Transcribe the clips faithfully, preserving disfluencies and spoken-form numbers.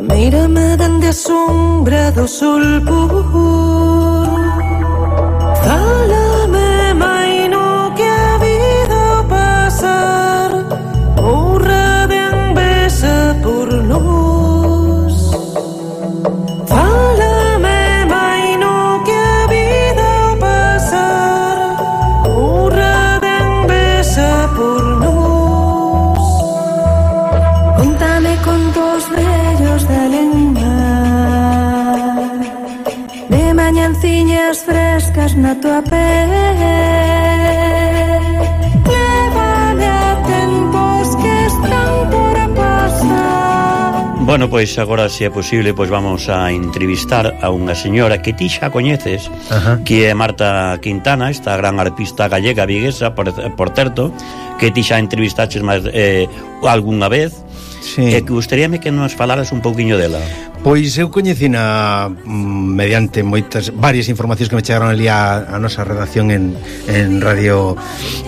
Mírame dende a sombra do sol puro, fálame maino que a vida pasar, morra ben besa por nós. Fálame maino que a vida pasar, morra ben besa por nós. Contame contos vellos da lenda, de mañanciñas frescas na tua pel. Lévame a tempos que están por pasar. Bueno, pois agora, se é posible, pois vamos a entrevistar a unha señora que ti xa coñeces. Ajá. Que é Marta Quintana, esta gran arpista gallega viguesa, por, por certo, que ti xa entrevistaches máis eh, algunha vez. Sí. E que gustaríame que nos falaras un pouquiño dela. Pois eu coñecina mediante moitas varias informacións que me chegaron ali a, a nosa redacción en, en Radio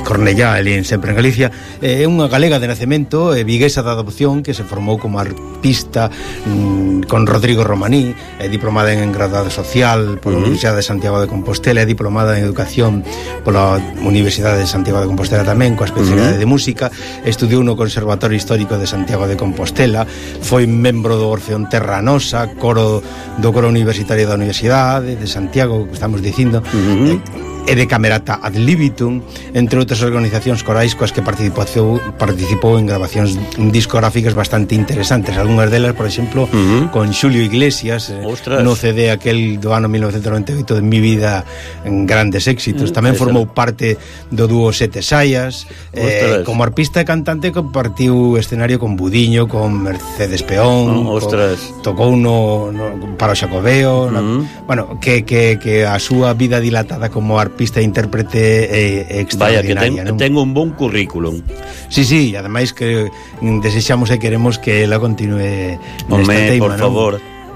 Cornellá, ali en sempre en Galicia. É unha galega de nacemento, é viguesa da adopción, que se formou como arpista mmm, con Rodrigo Romaní, é diplomada en graduado social pola uh-huh. Universidade de Santiago de Compostela, é diplomada en educación pola Universidade de Santiago de Compostela tamén, coa especialidade uh-huh. de música. Estudiou no Conservatorio Histórico de Santiago de Compostela, foi membro do Orfeón Terra Nosa, coro do coro universitario da Universidade de Santiago, que estamos dicindo, uh-huh. e de Camerata ad libitum, entre outras organizacións corais coas que participou, participou en grabacións discográficas bastante interesantes. Algúnas delas, por exemplo, uh-huh. con Xulio Iglesias, Ostras. no C D aquel do ano mil novecentos noventa e oito de Mi Vida, en grandes éxitos. Tamén formou parte do dúo Sete Saias, eh, como arpista e cantante compartiu escenario con Budiño, con Mercedes Peón, oh, con, tocou no, no para o Xacobeo, uh-huh. no, bueno, que, que, que a súa vida dilatada como arpista pista e intérprete é extraordinaria. Vaya, que ten, ten un bon currículum. Sí, sí, e ademais que desexamos e queremos que ela continue nesta teima, por favor.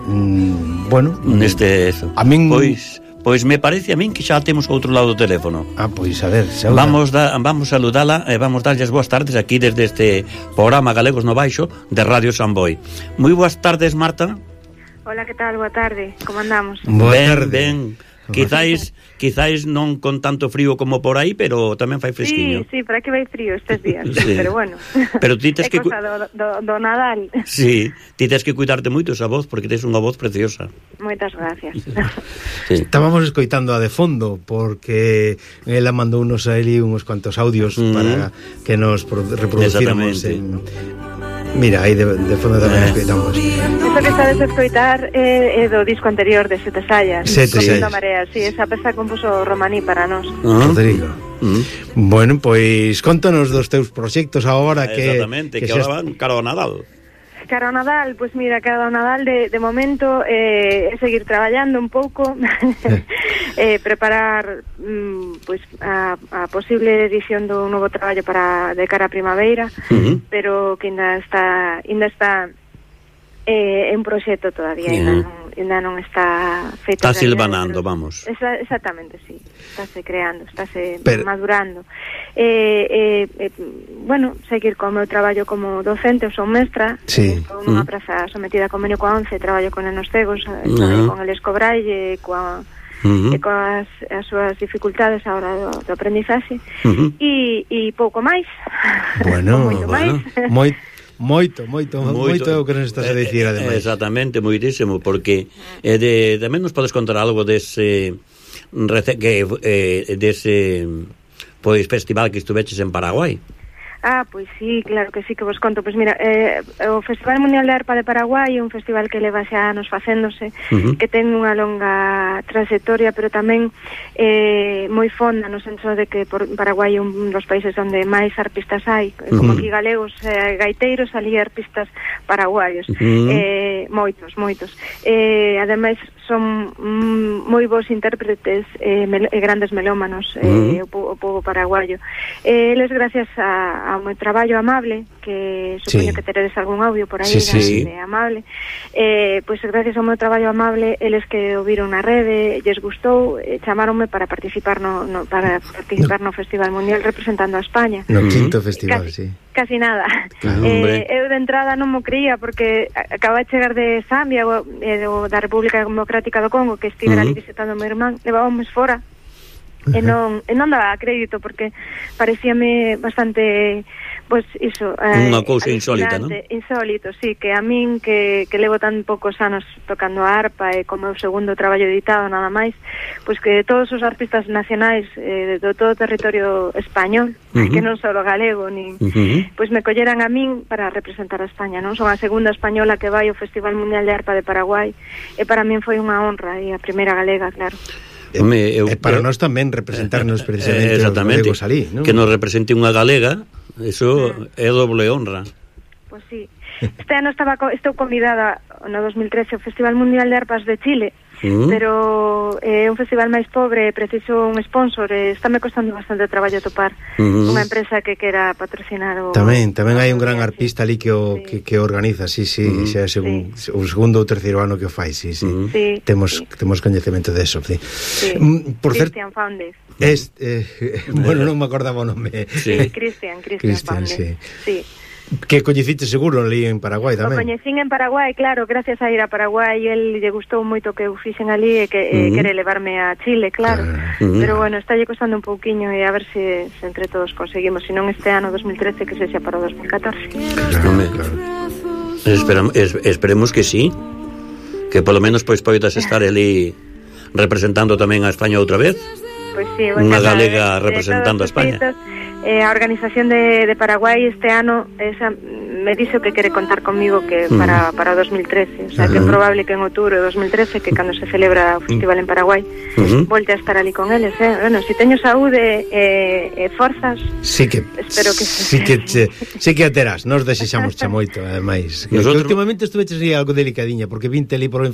Mm, bueno, neste eso. A min pois Pois me parece a min que xa temos outro lado do teléfono. Ah, pois a ver, saúda. Vamos da, vamos saludala e vamos darlles boas tardes aquí desde este programa Galegos no Baixo de Radio Samboy. Moi boas tardes, Marta. Hola, que tal? Boa tarde. Como andamos? Boa ben, tarde. Ben. Quizáis, quizáis non con tanto frío como por aí, pero tamén fai fresquiño. Sí, sí, por aquí vai frío estes días, sí. Pero bueno. Pero ti tes é que cosa do, do, do Nadal. Sí, ti tes que cuidarte moito esa voz, porque tes unha voz preciosa. Moitas gracias. Sí. Estábamos escoitando a de fondo, porque ela mandou unos a Eli uns cuantos audios mm. para que nos reproducíramos en... Mira, aí de, de fondo tamén escoitamos. Eso que estades a escoitar é, é do disco anterior de Sete Saias. Sete Saias. Marea, sí, esa peza compuso Romaní para nós. Uh-huh. Rodrigo. Uh-huh. Bueno, pois contanos dos teus proxectos agora que... Exactamente, que, que ahora van cara ao Nadal. Cara ao Nadal, pois pues mira, cara ao Nadal de, de momento é eh, seguir traballando un pouco, eh, preparar mm, pois pues, a, a posible edición do novo traballo para de cara a primavera, uh-huh. pero que ainda está ainda está eh, en proxecto todavía, uh-huh. ainda, non, ainda non está feito. Está silvanando, pero, vamos. Esa, exactamente, sí. Estáse creando, estáse pero... madurando. Eh, eh, eh, bueno, seguir co meu traballo como docente, eu son mestra, sí. estou nunha uh-huh. praza sometida a convenio coa ONCE, traballo con nenos cegos, uh-huh. con el Escobraille, coa Uh-huh. e coas as súas dificultades a hora do, do aprendizaxe uh-huh. e, e pouco máis. Bueno, moito bueno. máis. Moi, moito, moito, moito é o que nos estás a dicir, ademais. Exactamente, moitísimo, porque eh, de, tamén nos podes contar algo dese que eh, dese pois festival que estuveches en Paraguai. Ah, pois sí, claro que sí que vos conto. Pois mira, eh, o Festival Mundial de Arpa de Paraguai é un festival que leva xa anos facéndose, uh-huh. que ten unha longa trayectoria, pero tamén eh, moi fonda no senso de que por Paraguai é un dos países onde máis arpistas hai, uh-huh. como aquí galegos, eh, gaiteiros, ali arpistas paraguaios, uh-huh. eh, moitos, moitos. Eh, ademais, son mm, moi bons intérpretes e eh, mel- grandes melómanos, uh-huh. eh, o, po- o povo paraguayo. Eh, eles, gracias a ao meu traballo Amable, que supoño sí. que teredes algún audio por aí sí, sí, de, sí. de Amable, eh, pois gracias ao meu traballo Amable, eles que o viron na rede, lles gustou, eh, chamaronme para participar no, no para participar no, no Festival Mundial representando a España. No quinto festival, casi, sí. Casi nada. Claro, eh, eu de entrada non mo creía porque acaba de chegar de Zambia, o, eh, do, da República Democrática do Congo, que estive uh -huh. ali visitando o meu irmán, levábamos fora. E non, e non daba crédito porque parecíame bastante, pois pues, iso, eh, unha cousa insólita, non? Insólito, sí, que a min que, que levo tan poucos anos tocando a arpa e como o segundo traballo editado nada máis, pois pues que todos os artistas nacionais eh, do todo o territorio español, uh -huh. que non só galego, nin, uh -huh. pois pues me colleran a min para representar a España, non? Son a segunda española que vai ao Festival Mundial de Arpa de Paraguai e para min foi unha honra e a primeira galega, claro. E, Home, eu, e para eu, nós tamén representarnos precisamente eh, os galegos ali, non? Que nos represente unha galega, eso mm. é doble honra. Pois pues sí. Este ano estaba estou convidada no dos mil trece ao Festival Mundial de Arpas de Chile, mm. pero é eh, un festival máis pobre, preciso un sponsor, e estáme costando bastante traballo topar mm. unha empresa que quera patrocinar o... Tamén, tamén hai un gran arpista ali que o, sí. que, que organiza, sí, sí, mm. xa é segun, sí. o segundo ou terceiro ano que o fai, sí, sí. Mm. sí temos, sí. temos coñecemento deso, sí. sí. Por Christian Faundes. Es, eh, bueno, non me acordaba o nome. Sí, sí Christian, Christian, Christian Faundes. Sí. sí. Que coñeciste seguro ali en Paraguai tamén. O coñecín en Paraguai, claro, gracias a ir a Paraguai, el lle gustou moito que eu fixen ali e que uh -huh. eh, quere levarme a Chile, claro. Uh -huh. Pero bueno, está lle costando un pouquiño e a ver se, se entre todos conseguimos, se non este ano dos mil trece que sexa para o dos mil catorce. Claro, claro. Esperamos, es, esperemos que sí, que polo menos pois poidas estar ali representando tamén a España outra vez. Pois sí, unha galega de, representando de a España. Feitos, eh, a organización de, de Paraguai este ano esa, me dixo que quere contar comigo que uh -huh. para, para o dos mil trece, o sea, uh -huh. que é probable que en outubro de dos mil trece, que cando se celebra o festival en Paraguai, uh -huh. volte a estar ali con eles, eh? Bueno, se si teño saúde e eh, eh, forzas, sí que, espero que sí que che, sí que a terás, nos desexamos xa moito, ademais. Nosotros... últimamente estuveches aí algo delicadiña, porque vinte ali por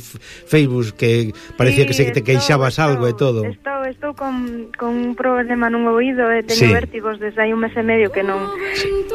Facebook que parecía sí, que se te queixabas estou, algo e todo. Estou, estou con, con un problema nun oído e teño sí. vértigos desde hai un mes e medio que non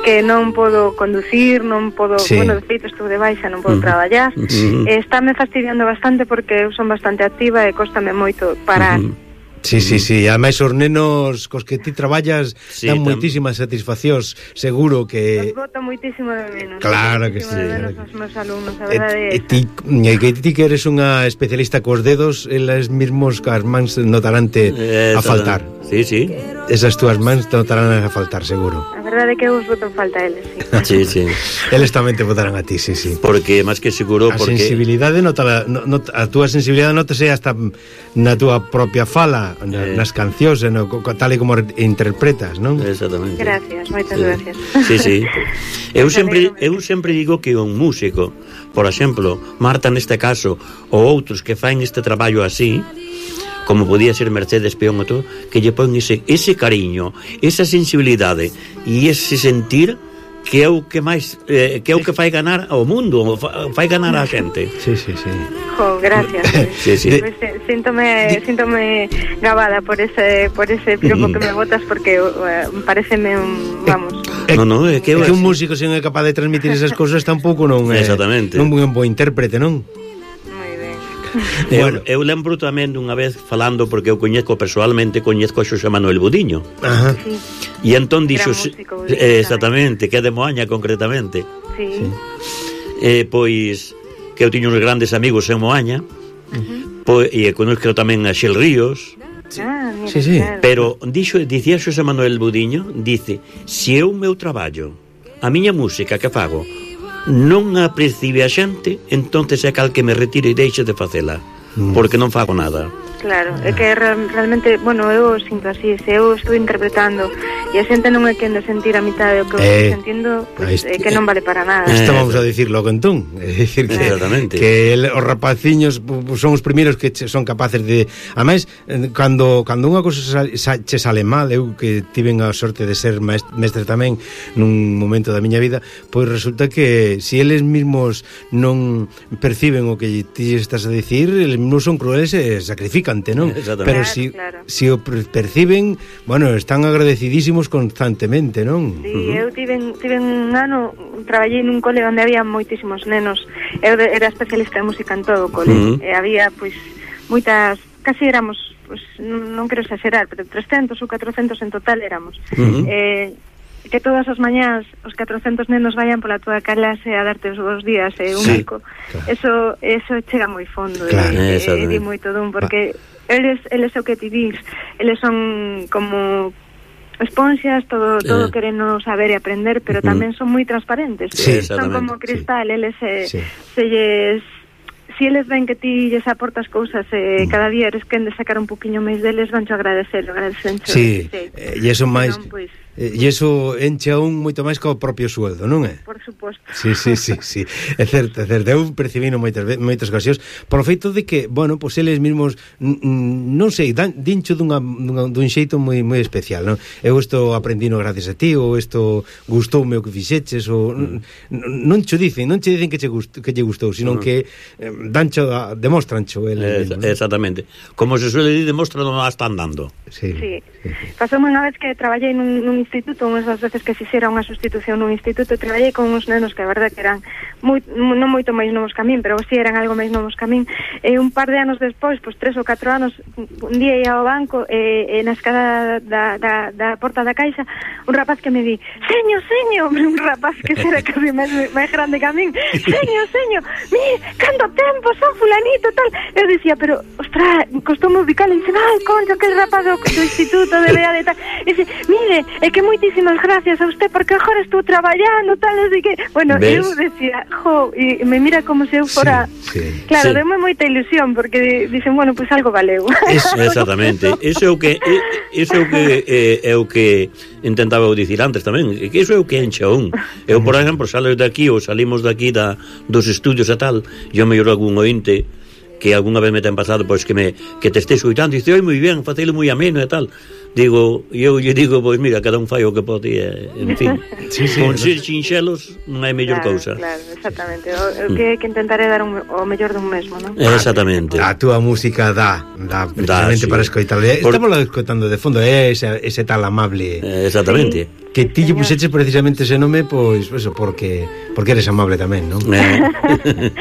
que non podo conducir, non podo, sí. bueno, de feito estou de baixa, non podo uh -huh. traballar. Uh -huh. E estáme fastidiando bastante porque eu son bastante activa e cóstame moito parar. Uh -huh. Sí, sí, sí, ademais os nenos cos que ti traballas sí, dan moitísimas satisfaccións, seguro que... Os boto moitísimo de menos. Claro que sí. Claro que... os meus alumnos, a verdade é esa. Ti, que ti que eres unha especialista cos dedos, elas mismos cas mans notarante eh, a faltar. Sí, sí. Esas túas mans notarán a faltar, seguro. A verdade é que eu os boto en falta a eles, Sí, sí. sí. Eles tamén te botarán a ti, sí, sí. Porque, máis que seguro, a porque... sensibilidade nota, not, a túa sensibilidade notase hasta na túa propia fala, eh. nas cancións, no, tal e como interpretas, non? Exactamente. Gracias, moitas sí. gracias. Sí, sí. Eu sempre, eu sempre digo que un músico, por exemplo, Marta neste caso, ou outros que faen este traballo así, como podía ser Mercedes Peón ou todo, que lle pon ese, ese cariño, esa sensibilidade e ese sentir que é o que máis eh, que é o que fai ganar ao mundo, fai ganar a xente. Sí, sí, sí. Jo, gracias. Sí, sí. Pues, síntome, síntome gabada por ese por ese piropo que me botas porque uh, pareceme un, vamos. Eh, no, no, é que, é que un músico se non é capaz de transmitir esas cousas tampouco non é. Exactamente. Non é un bo intérprete, non? Bueno. Eu, eu lembro tamén dunha vez falando, porque eu coñezco persoalmente, coñezco a Xosé Manuel Budiño. Ajá. Sí. E entón dixo eh, exactamente, que é de Moaña concretamente. Sí. Eh, pois que eu tiño uns grandes amigos en Moaña. Uh -huh. Pois e conozco tamén a Xel Ríos. Sí. Ah, mira, sí, sí. Claro. Pero dixo, dicía Xosé Manuel Budiño, dice, se eu meu traballo, a miña música que fago non a percibe a xente, entonces é cal que me retire e deixe de facela, mm. porque non fago nada. Claro, é que real, realmente, bueno, eu sinto así, se eu estou interpretando e a xente non é quen de sentir a mitad do que eu eh, estou sentindo, pues, é que non vale para nada. Isto vamos a dicir logo entón, é dicir que, que el, os rapaciños son os primeiros que son capaces de, ademais, cando cando unha cousa sa, sa, che sale mal, eu que tiven a sorte de ser mestre tamén nun momento da miña vida, pois resulta que se si eles mesmos non perciben o que ti estás a dicir, eles mesmos son crueles e sacrifican insignificante, non? Pero claro, si, claro. si o perciben, bueno, están agradecidísimos constantemente, non? Sí, uh-huh. eu tive, tive un ano, traballei nun cole onde había moitísimos nenos. Eu de, era especialista en música en todo o cole. Uh-huh. E había, pois, moitas, casi éramos, pois, non, non quero exagerar, pero trescentos ou catrocentos en total éramos. Uh-huh. Eh, que todas as mañás os catrocentos nenos vayan pola túa clase a darte os bons días e eh, un sí, bico. Claro. Eso eso chega moi fondo, claro, e, e, e di moito dun, porque Va. eles eles o que ti dis, eles son como esponxas, todo todo eh. querendo saber e aprender, pero uh-huh. tamén son moi transparentes. Sí, son como cristal, sí. eles se, sí. se lles si eles ven que ti lles aportas cousas e eh, mm. cada día eres quen de sacar un poquinho máis deles, vancho agradecer, agradecencho. Sí, e iso máis... Non, pois, e iso enche a un moito máis que o propio sueldo, non é? Por suposto. Sí, sí, sí, sí. É certo, é certo. Eu percibino moitas moitas ocasións por o feito de que, bueno, pois eles mesmos non sei, dan dincho dunha, dunha dun xeito moi moi especial, non? Eu isto aprendino gracias a ti, ou isto gustoume o que fixeches, ou mm. non cho dicen, non che dicen que che gustou, que lle gustou, sino mm. que eh, dancho, demostrancho eles mesmos. Exactamente. Como se suele dir, demostran non a están dando. Sí. sí. sí. Pasoume unha vez que traballei nun, nun instituto, unhas das veces que fixera unha sustitución nun instituto, traballei con uns nenos que a verdade que eran moi, non moito máis novos que a min, pero si eran algo máis novos que a min, e un par de anos despois, pois tres ou catro anos, un día ia ao banco e, e na escada da, da, da porta da caixa un rapaz que me di, seño, seño, un rapaz que era casi máis, máis grande que a min, seño, seño, mi, canto tempo, son fulanito, tal. Eu dicía, pero, ostra, costoume ubicar, e dicen, ai, concha, que el rapaz do, do instituto de B A de tal, e dice, mire, é que moitísimas gracias a usted, porque agora estou traballando, tal, así que, bueno, ¿ves? Eu decía, jo, e me mira como se eu fora, sí, sí. claro, sí. deme moita ilusión, porque dicen, bueno, pois pues algo valeu. Eso, exactamente, iso é o que iso é o que eh, é o que intentaba dicir antes tamén, que iso é o que enche a un. Eu, por exemplo, salo de aquí ou salimos de aquí da, dos estudios e tal, yo mellor algún ointe que algunha vez me ten pasado, pois que me que te estés oitando e dice, oi, moi ben, facelo moi ameno e tal. Digo, eu lle digo, pois mira, cada un fai o que pode, en fin. Sí, sí, con ser chinxelos non hai mellor claro, cousa. Claro, exactamente. O, o que, que intentaré dar un, o mellor dun mesmo, non? Exactamente. A túa música dá, dá precisamente da, sí. para escoitar. Por... Estamos la escoitando de fondo, é ese, ese tal amable. Exactamente. Sí. Que ti lle puxeches precisamente ese nome, pois, pues, eso, porque porque eres amable tamén, non? Eh.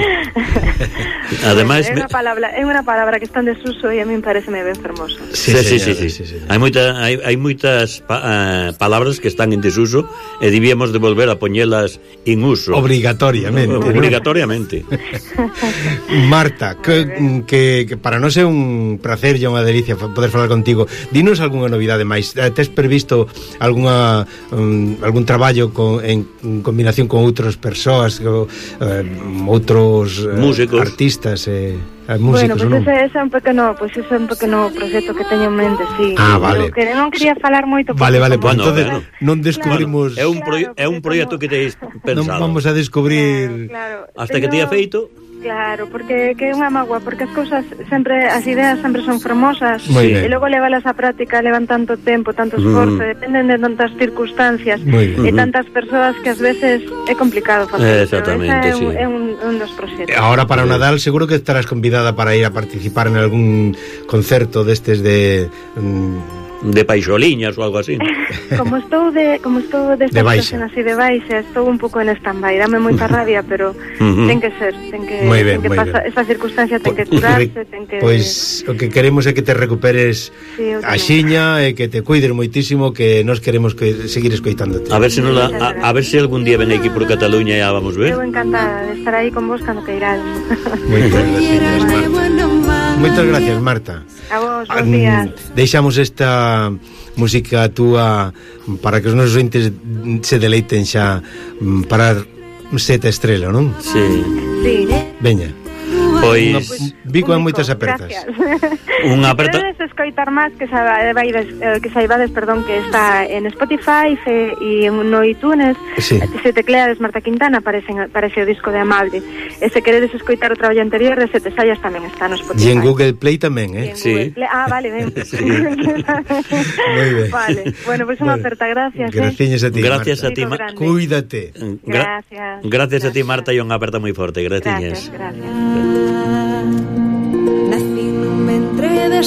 Ademais, é unha palabra, é unha palabra que está en desuso e a min pareceme ben fermosa. Sí, sí, sí, sí, sí, sí. Hai moita hai, hai moitas pa, uh, palabras que están en desuso e debíamos de volver a poñelas en uso. Obrigatoriamente. Obrigatoriamente. Marta, que, que, que para nós é un placer e unha delicia poder falar contigo. Dinos algunha novidade máis. Tes previsto algunha um, algún traballo con, en, en combinación con outras persoas, con, uh, outros uh, músicos, artistas e eh, músicos, bueno, pues ese, ese é un pequeno, pues ese é un pequeno proxecto que teño en mente, sí. Ah, vale. Que non quería falar moito. Vale, vale, pues bueno, entonces bueno. non descubrimos. Claro, é un proye- é un proxecto como... que teis pensado. Non vamos a descubrir claro, claro. hasta Teño... que te ha feito. Claro, porque que é unha magua, porque as cousas sempre, as ideas sempre son fermosas e logo levalas á práctica levan tanto tempo, tanto esforzo, mm. dependen de tantas circunstancias e tantas persoas que ás veces é complicado facer. Exactamente, é, sí. un, é un, un dos proxectos. Ahora para o Nadal seguro que estarás convidada para ir a participar en algún concerto destes de... Um, de paixoliñas ou algo así. Como estou de como estou de esta situación así de baixa, estou un pouco en stand-by, dame moita rabia, pero uh-huh. ten que ser, ten que, muy bien, ten que pasar, esa circunstancia ten que curarse, ten que... Pois o que queremos é que te recuperes sí, a xiña e que te cuides moitísimo, que nós queremos que seguir escoitándote. A ver se non la, a, a ver se algún día ven aquí por Cataluña e ya vamos ver. Eu encantada de estar aí con vos cando queirades. Moitas gracias, Marta. Moitas gracias, Marta. A vos, bons días. Deixamos esta música túa para que os nosos ointes se deleiten xa para sete estrela, non? Sí. Sí. Veña. Pois Vico en moitas apertas. Unha aperta. Queredes escoitar máis que saibades, eh, que saibades, perdón, que está en Spotify e no iTunes. Sí. Se tecleades Marta Quintana aparece, aparece o disco de Amable. E se queredes escoitar o traballo anterior de Sete Sayas tamén está no Spotify. E en Google Play tamén, eh? Sí. Play. Ah, vale, ben. Sí. Moi ben. Vale. Bueno, pois pues unha aperta, gracias. Gracias eh. a ti, gracias Marta. a ti, Ma- Cuídate. Gra- gracias. Gracias a ti, Marta, e unha aperta moi forte. Gracias. Gracias, gracias. Nací nun ventre de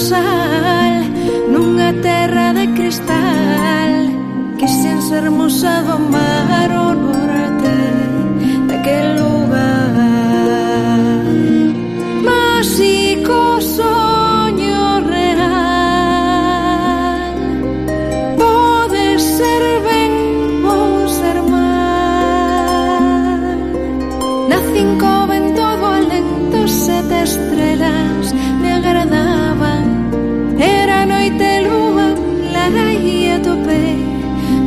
estrelas me agradaban. Era noite lúa clara e atopei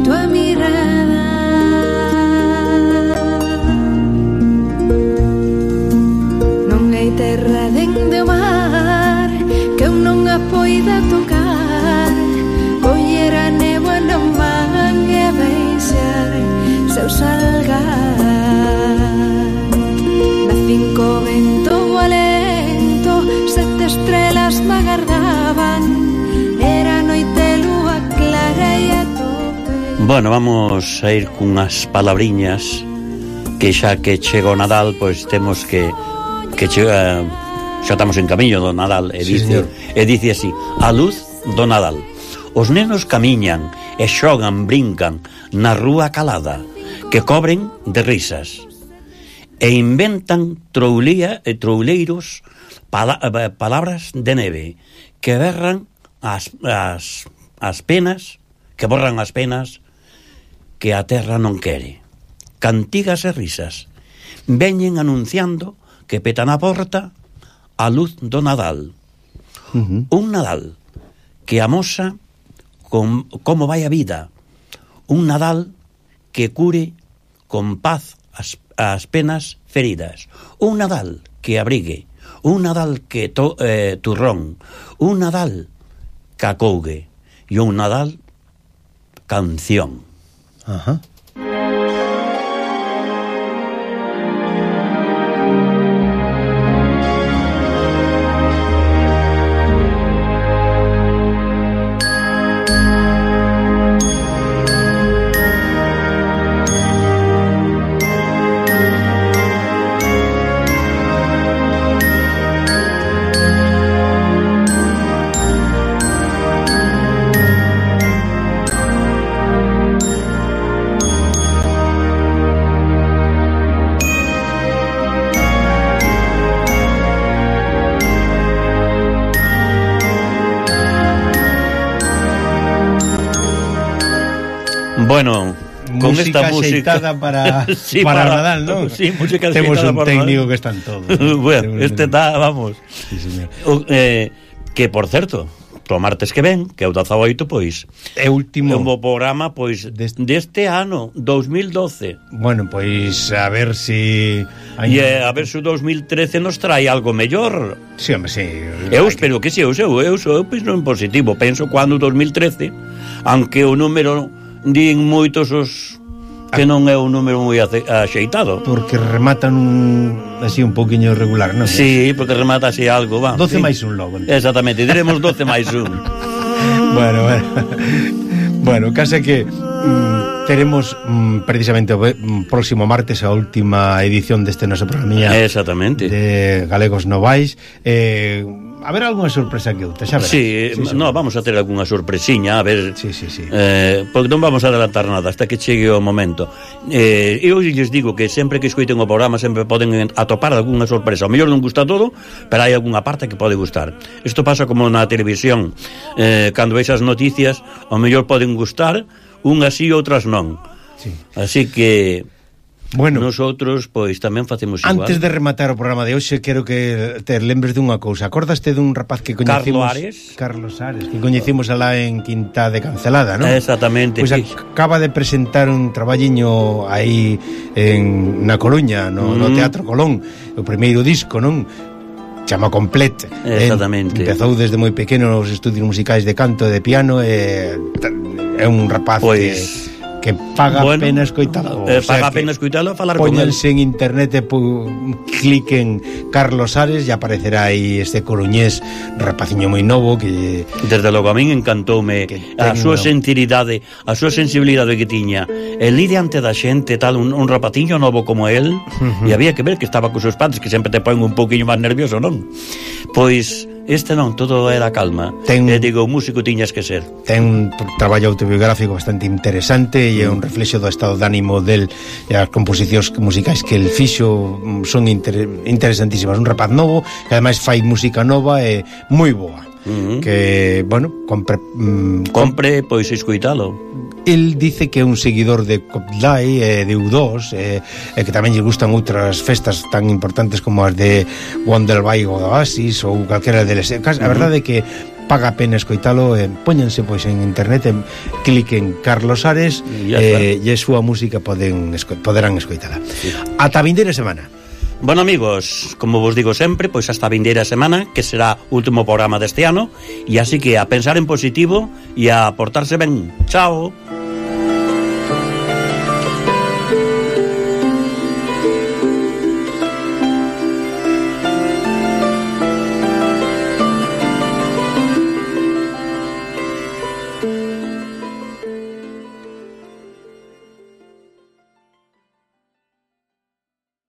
tua mirada. Non hai terra dende o mar que eu non a poida tocar. Coller a néboa non van e deixar seu salgar. Na cinco vento o alento, sete estrelas me agardaban. Era noite lúa clara e a tope. Bueno, vamos a ir cunhas palabriñas que xa que chega o Nadal, pois temos que que chega, xa estamos en camiño do Nadal, e dice, sí, e dice así: a luz do Nadal. Os nenos camiñan e xogan, brincan na rúa calada, que cobren de risas, e inventan troulía e trouleiros pala, palabras de neve que berran as, as, as penas, que borran as penas que a terra non quere. Cantigas e risas veñen anunciando que peta na porta a luz do Nadal. Uh-huh. Un Nadal que amosa con, como vai a vida. Un Nadal que cure con paz as, as penas feridas. Un Nadal que abrigue. Un Nadal que to, eh, turrón. Un Nadal que acougue. E un Nadal canción. Ajá. Bueno, con música esta música para, sí, para, para Nadal, ¿no? Sí, música Temos un para técnico Nadal. que están todos. Bueno, este está, vamos. Sí, señor. O, eh, que, por certo, pro martes que ven, que é o dezaoito, pois é último é un bo programa, pois deste, deste ano, dos mil doce. Bueno, pois a ver si e eh, a ver se o dos mil trece nos trae algo mellor. Sí, hombre, sí. Eu espero que, que si, eu, eu, eu, eu penso en positivo. Penso cando o dos mil trece, aunque o número din moitos os que non é un número moi axeitado, porque rematan un, así un poquinho irregular, non? Sí, porque remata así algo, va. doce sí. máis un logo. Entonces. Exactamente, diremos doce máis un. Bueno, bueno. Bueno, case que mm, teremos mm, precisamente o mm, próximo martes a última edición deste noso programa. Exactamente. De Galegos Novais. Eh, a ver algunha sorpresa que outra, xa verás. Sí, sí, no, vamos a ter algunha sorpresiña, a ver. Sí, sí, sí. Eh, porque non vamos a adelantar nada hasta que chegue o momento. Eh, eu lles digo que sempre que escoiten o programa sempre poden atopar algunha sorpresa. O mellor non gusta todo, pero hai algunha parte que pode gustar. Isto pasa como na televisión. Eh, cando veis as noticias, o mellor poden gustar, unhas sí, outras non. Sí. Así que bueno, nosotros pois tamén facemos igual. Antes de rematar o programa de hoxe, quero que te lembres dunha cousa. Acordaste dun rapaz que coñecimos, Carlos Ares? Carlos Ares, que coñecimos alá en Quinta de Cancelada, non? Exactamente. Pois pues acaba de presentar un traballiño aí en na Coruña, no, mm. no Teatro Colón, o primeiro disco, non? Chama Complet. Exactamente. En, empezou desde moi pequeno nos estudios musicais de canto e de piano, e é un rapaz pois... que que paga bueno, pena escoitalo. Eh, paga o sea, pena escoitalo e falar con él. Póñense en internet e pu, cliquen Carlos Ares e aparecerá aí este coruñés rapaciño moi novo que... Desde logo, a min encantoume a súa sinceridade, a súa sensibilidade que tiña. El ir diante da xente, tal, un, un rapaciño novo como él, uh-huh. e había que ver que estaba con seus padres, que sempre te poen un pouquiño máis nervioso, non? Pois... Este non, todo era calma. Ten, e digo, músico tiñas que ser. Ten un traballo autobiográfico bastante interesante e é un reflexo do estado de ánimo del, e as composicións musicais que el fixo son inter, interesantísimas. Un rapaz novo que ademais fai música nova e moi boa. Uh-huh. Que, bueno, compre... Mm, compre, pois, escoitalo. El dice que é un seguidor de Coldplay, eh, de U dos, eh, e que tamén lle gustan outras festas tan importantes como as de Wonderby ou Oasis ou calquera deles. A verdade é que paga a pena escoitalo, eh, póñanse pois en internet, en, cliquen Carlos Ares e eh, a súa música poden esco, poderán escoitala. Sí. Ata a vindeira semana. Bueno, amigos, como vos digo sempre, pois hasta a vindeira semana, que será o último programa deste ano, e así que a pensar en positivo e a portarse ben. Chao.